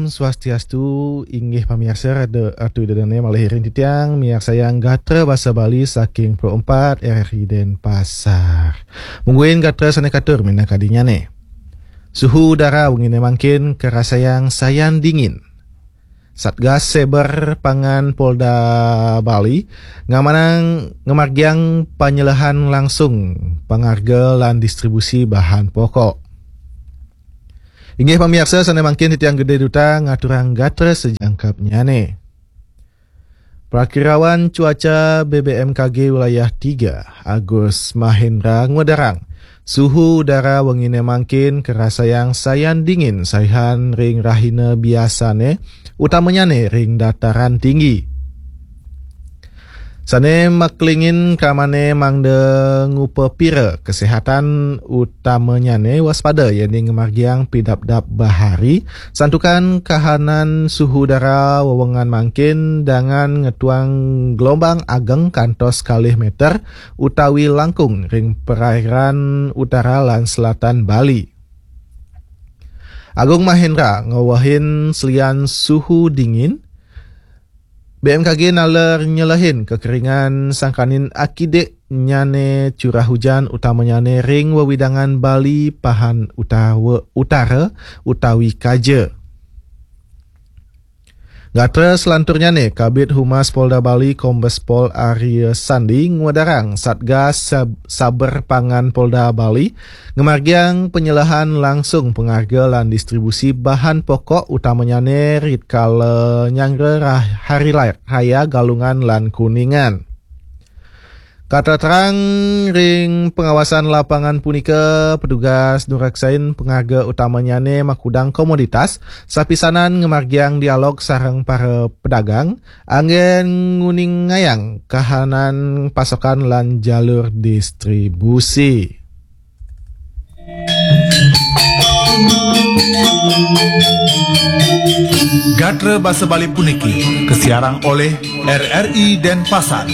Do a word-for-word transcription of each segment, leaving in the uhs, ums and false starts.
Swastiastu, inggih pamiarsa, Ratu Ida Dane malih iring titiang miarsayang gatra basa Bali saking Pro empat R R I Denpasar. Mungguin gatra sane katur minakadinyane. Suhu udara wengine mangkin karasayang sayan dingin. Satgas Cyber Pangan Polda Bali ngamanang ngamargiang panyelehan langsung pangarga lan distribusi bahan pokok. Inggih pamiarsa sane mangkin titiang Gede Duta ngaturang gatra sajangkapnyane. Prakirawan cuaca B B M K G wilayah tiga, Agus Mahendra, ngwedarang suhu udara wengine mangkin karasayang sayan dingin saihan ring rahina biasane, utamanyane ring dataran tinggi. Sane maklingin kramane mangda ngupapira kesehatan, utamanyane waspada yening ngamargiang pidabdab bahari, santukan kahanan suhu udara wewengan mangkin dangan ngetuang gelombang ageng kantos kalih meter utawi langkung ring perairan utara lan selatan Bali. Agung Mahendra ngewehin selian suhu dingin, B M K G naler nyelehin kekeringan sangkaning akidik nyane curah hujan utamanyane ring wewidangan Bali pahan utawa, utara utawi kaja. Gatra selanturnyane, Kabid Humas Polda Bali Kombes Pol Arya Sandi ngwedarang Satgas Sab-, Saber Pangan Polda Bali ngamargiang panyelehan langsung pangarga lan distribusi bahan pokok utamanyane ritkala nyanggra rah-, hari la-, raya Galungan lan Kuningan. Katerang ring pengawasan lapangan punika, petugas nuraksain pangarga utamanyane makudang komoditas, sapisanan ngamargiang dialog sareng para pedagang, anggen nguningayang kahanan pasokan lan jalur distribusi. Gatra basa Bali puniki kasiarang olih R R I Denpasar.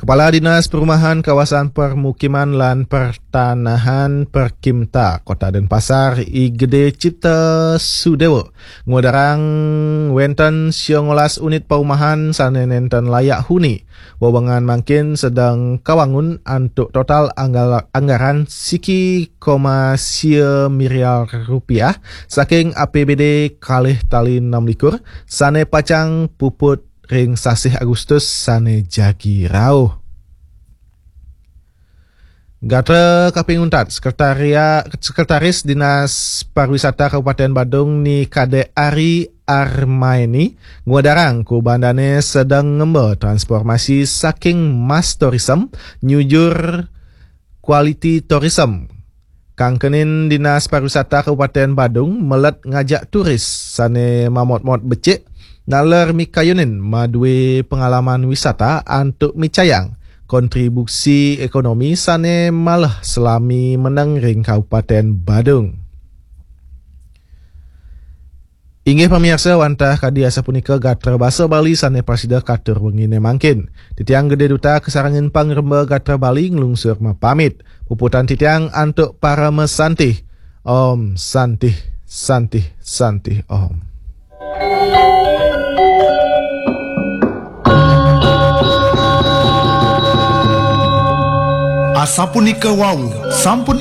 Kepala Dinas Perumahan Kawasan Permukiman lan Pertanahan, Perkimta, Kota Denpasar, I Gede Cipta Sudewa, ngwedarang wenten siongolas unit paumahan sane nenten layak huni. Wewengan mangkin sedeng kawangun antuk total anggal-, anggaran siki koma sia miliar rupiah saking A P B D kalih tali enam likur sane pacang puput ring sasih Agustus sane jagi rauh. Gatra kaping untat, Sekretaria-, Sekretaris Dinas Pariwisata Kabupaten Badung Ni Kade Ari Armaini ngwedarang ku bandane sedeng ngemba transformasi saking mass tourism nyujur quality tourism. Kangkenin Dinas Pariwisata Kabupaten Badung melet ngajak turis sane mamotmot becik naler mikayunin madue pengalaman wisata antuk micayang kontribusi ekonomi sane malih selami meneng ring Kabupaten Badung. Inggih pamiarsa, wantah kadi asapunika gatra basa Bali sane prasida katur wengine mangkin. Titiang Gede Duta kasarengin pangremba gatra Bali nglungsur mapamit. Puputan titiang antuk parama santih. Om Santih, Santih, Santih Om. Asapunika wau sampun